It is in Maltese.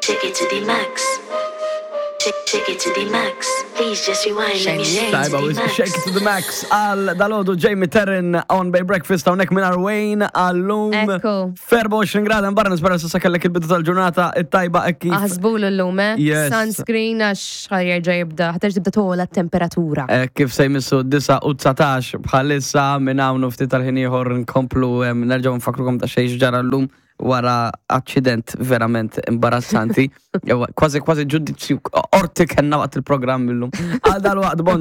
Take it to the max. Take, take it to the max. Please just rewind, let me shake it Tajba, to the max. shake it to the max għal dalodu Jamie Terrin on Bay Breakfast hawnhekk minn Wayne għallum. Ekku. 24 grad barra nispera s'issa kellek il-bidu tal-ġurnata it-tajba hekk kif. Aħsbulu l-lum, eh? Yes. Sunscreen għax ħa jerġa' jibda, ħa terġa' tibda togħla t-temperatura. Kif se jmissu 9 u 19 bħalissa minn hawn u ftit tal-ħin ieħor nkomplu nerġgħu nfakrukom ta' xejn ġara llum wara aċċident verament imbarazzanti. Jew kważi kważi ġudizzju qorti kellna waqt il-programm illum. Għal dal-waqt bon.